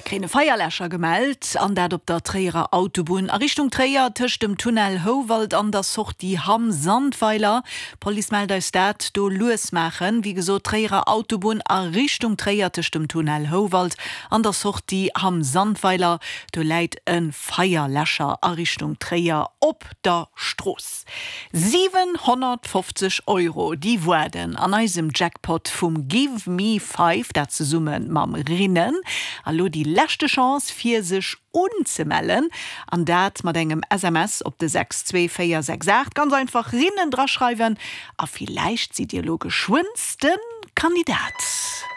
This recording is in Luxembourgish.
Mir kréien e Feierläscher gemellt, an dat op der Tréierer Autobunn a Richtung Tréier, tëscht dem Tunnel Houwald an der Sortie Hamm-Sandweiler. D'Police mellt eis dat, do lues maachen. Wéi gesot, Tréierer Autobunn a Richtung Tréier, tëscht dem Tunnel Houwald an der Sortie Hamm-Sandweiler, do läit e Feierläscher a Richtung Tréier op der Strooss. 750 Euro, déi waarden an eisem Jackpot vum Give Me Five, dat zesumme mam Rinnen. A lo déi leschte Chance fir sech unzemellen, an dat mat engem SMS op de 62468. Ganz einfach Rinnen draschreiwen a villäicht sidd Dir lo geschwënns de Kandidat.